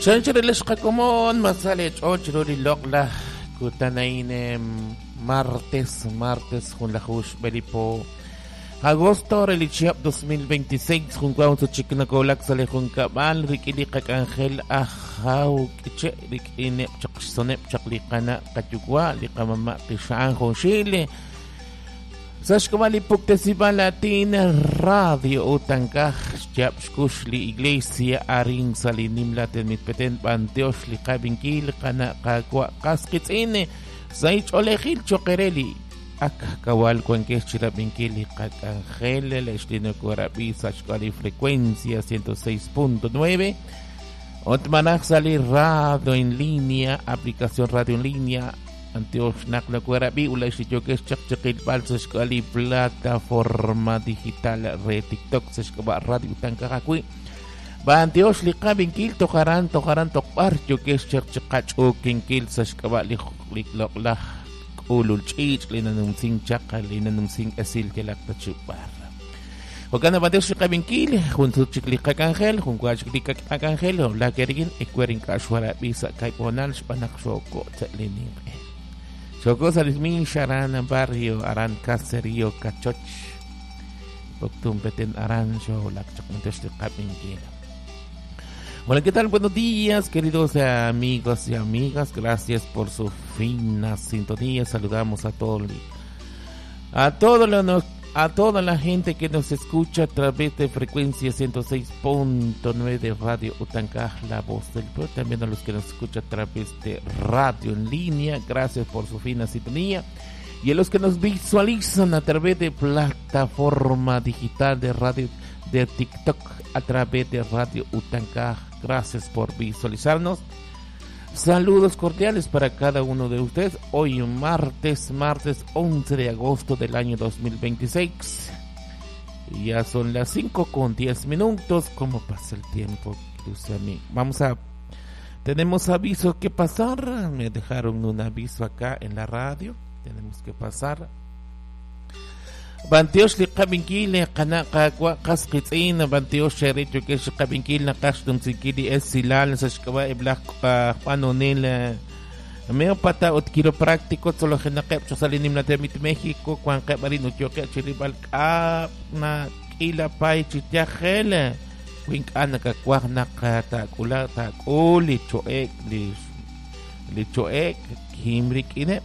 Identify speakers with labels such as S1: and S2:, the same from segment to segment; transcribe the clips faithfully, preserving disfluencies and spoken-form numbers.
S1: Chanchirilish qakomon masale ch'och ruri loq'laj kutanain martes martes junlajush belipo agosto relichiap dos mil veintiséis juncuaun suchiknakolak sale junkabal rikili qak'anjel ajaw k'iche' rik'ineb' chaqxsoneb' chaqliqana qayuwa liqamama' qixa'an junxil Saxcomali Puctesiba Latina Radio Utancaj Xchapxcux li Iglesia Arin Salinim Latin Mitpeten Panteox li Qabinkil Qana Qaqwa Qasqitz'ine Saich Olejil Choquereli Ak Kawal Cuanquex Chirabinkil li Qak'anjel Lextinocorabi Saxcali Frecuencia ciento seis punto nueve Otmanaj Sali Radio en línea, aplicación Radio en línea Antioch Nakla Cuerabi, Ulash Yokesh Chakchakil Balsashkali, plataforma digital re TikTok, Seshkaba Radio Tankakakui. Ba Antioch Liqabinkil, Tojaran, Tojaran, Tokbar, Yokesh Chakchakach, Okinkil, Seshkaba Likloklah, Ulul Chich, Linanumsing Chaka, Linanumsing Esil, Kelaktachubar. Wakana Banteox Liqabinkil, junto Chikliqakangel, junto a Chikliqakangel, la Kerigin, Ecuerin Kashwara, Bisa, Kaiponal, Spanak Shoko, Tlenin. Chocó Salismín, Sharan, Barrio, Aran, Caserío, Cachoch, Poctum, Petén, Arancho, Hola, ¿qué tal? Buenos días, queridos amigos y amigas. Gracias por su fina sintonía. Saludamos a todos, a todos los, a toda la gente que nos escucha a través de frecuencia ciento seis punto nueve de Radio Utancaj, la voz del pueblo. También a los que nos escuchan a través de radio en línea, gracias por su fina sintonía. Y a los que nos visualizan a través de plataforma digital de radio de TikTok, a través de Radio Utancaj, gracias por visualizarnos. Saludos cordiales para cada uno de ustedes. Hoy martes, martes once de agosto del año dos mil veintiséis. Ya son las cinco con diez minutos. ¿Cómo pasa el tiempo? Vamos a... Tenemos aviso que pasar. Me dejaron un aviso acá en la radio. Tenemos que pasar. Bantiox liqabinkil qana qaqwa qasqitz'in Bantiox xericho que xqabinkil naqax tumsikili es silal saxkaba iblaq qanonil meopata ut quiropráctico sologenaqeb chosalinim natemit México cuan qebarin utyoqe chiribal q'ab na k'ila pay chityajel wink'ana kakwaj naqa taqula taqul licho'ek licho'ek kimrik'ineb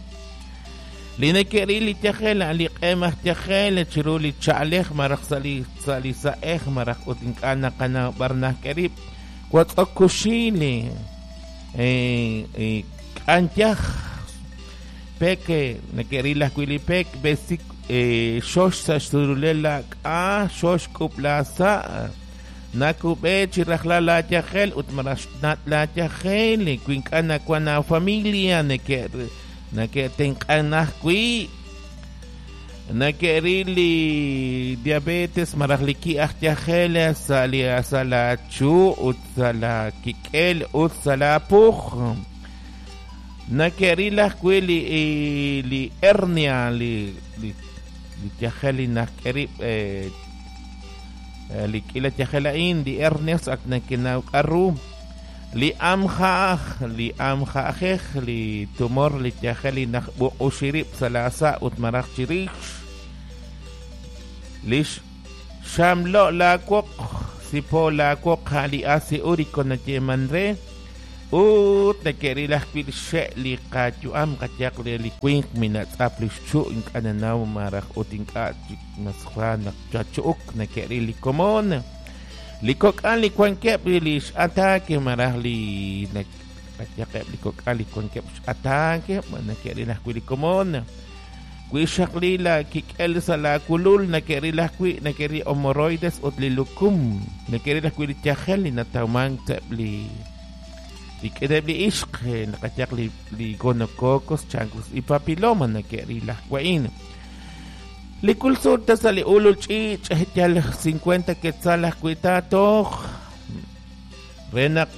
S1: Linekeri li tyajel li q'emaj tyajel chiru li cha'alej maraj sali sali sa'ej maraj ut ink'ana qana barnaj kerib watz'okuxili eh eh k'antyaj peke nekeri las kuilipek besik eh xox saxturulela k'a xox kuplasa nakube chirajla la tyajel ut maraj nat la tyajel kuink'ana kuana familia neker Nake tenq'anajkui nakerili diabetes marajliki ajtyajel sali sala chu ut sala kik'el ut sala puj nakerilajkui li li hernia li li li tyajel najkerib eh li k'ila tyajel a'in li hernias ak nakinawk'arru li amjaj li amjajej li tumor li tyajel li najb'uq'uxirib salasa ut maraj chirix lix xamlo la woq sipo la woq li asi úrico nayeman re ut nakerilaj wil xe' li qayu'am qayaq li winq minatz'ap li xchu' ink'ananaw maraj ut ink'a' masja naq chachu'uk nakeril li komon li kok'al li kuankeb' li x'ataque maraj li qayaqeb' li kok'al li kuankeb' x'ataque nakerilaj wi li komon wi xaqli la kik'el sa la kulul nakerilaj wi nakeri hemorroides ut li lukum nakerilaj wi li tyajel li natawman teb' li li k'edeb' li ixq naqayaq li li gonococos chancros y papiloma nakerilaj wa'in li kulsulta sa li ulul ch'ich yal cincuenta quetzal ajkuitatoj renaq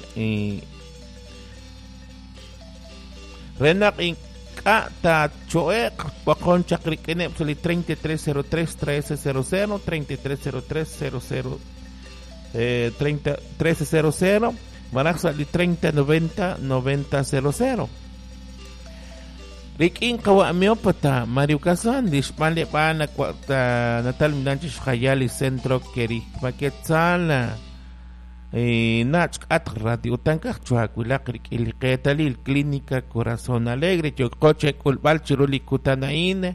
S1: renaq ink'a' tacho'eq waqon chaqrik'ineb' sa li treinta y tres cero tres trece cero cero treinta y tres cero tres cero cero eh, treinta, trece cero cero Maraj sa li treinta noventa noventa cero cero. Rik'in qawa miópata Mario Kazan li xb'anleb'aal natal minanchi xjayal li centro Kerigma Quetzal nach k'at Radio Utankaj chuakuilaq rik'in li qeetalil Clínica Corazón Alegre yokqoche k'ulb'al chiru li kutan a'in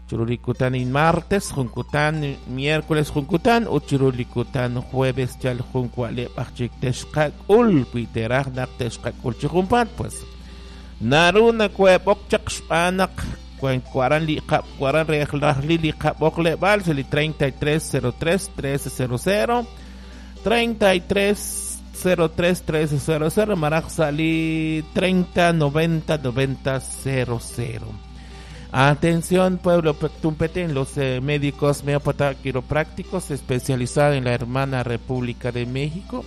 S1: chiru li kutan a'in martes jun kutan miércoles jun kutan ut chiru li kutan jueves chal jun wa'leb' aj chik texqak'ul wi teraj naq texqak'ul chi junpaat pues naru nakueb'ok chaq xb'aan naq waran li qab waran rejlajli li qab'oqleb'al li treinta y tres cero tres trece cero cero treinta y tres cero tres trece cero cero maraj sali treinta noventa noventa cero cero. Atención pueblo Pectumpetén, los eh, médicos meópata quiroprácticos especializados en la hermana República de México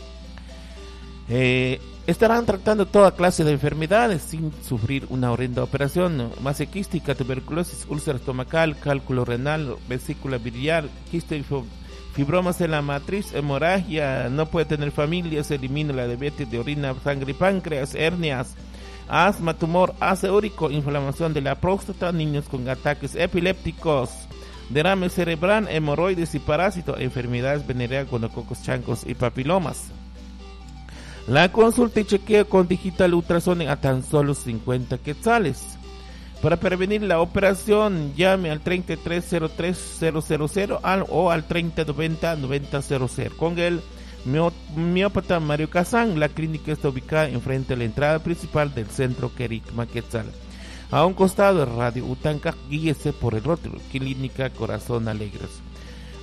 S1: eh, estarán tratando toda clase de enfermedades sin sufrir una horrenda operación: masa quística, tuberculosis, úlcera estomacal, cálculo renal, vesícula biliar, quiste y fibromas en la matriz, hemorragia, no puede tener familia, se elimina la diabetes de orina, sangre y páncreas, hernias, asma, tumor, ácido úrico, inflamación de la próstata, niños con ataques epilépticos, derrame cerebral, hemorroides y parásitos, enfermedades venéreas, gonococos, chancos y papilomas. La consulta y chequeo con digital ultrasonic a tan solo cincuenta quetzales. Para prevenir la operación, llame al treinta y tres cero tres cero cero cero al, o al treinta noventa noventa cero cero. Con el miópata Mario Kazán, la clínica está ubicada enfrente de la entrada principal del centro Kerigma Quetzal. A un costado de Radio Utanca, guíese por el rótulo Clínica Corazón Alegres.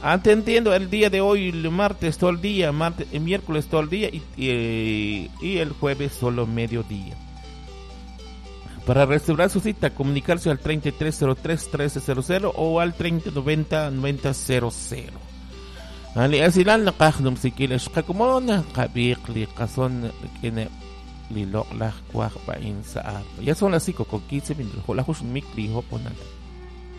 S1: Atendiendo el día de hoy, el martes todo el día, martes, el miércoles todo el día y, y, y el jueves solo mediodía. Para reservar su cita, comunicarse al treinta y tres cero tres trece cero cero o al treinta noventa noventa cero cero. Ali asilan naqaj numsikil xqakumon qabiq li qason kine li loqlaj kwaj ba'in sa'ar. Ya son las cinco con quince minutos. La jush mik li hoponal.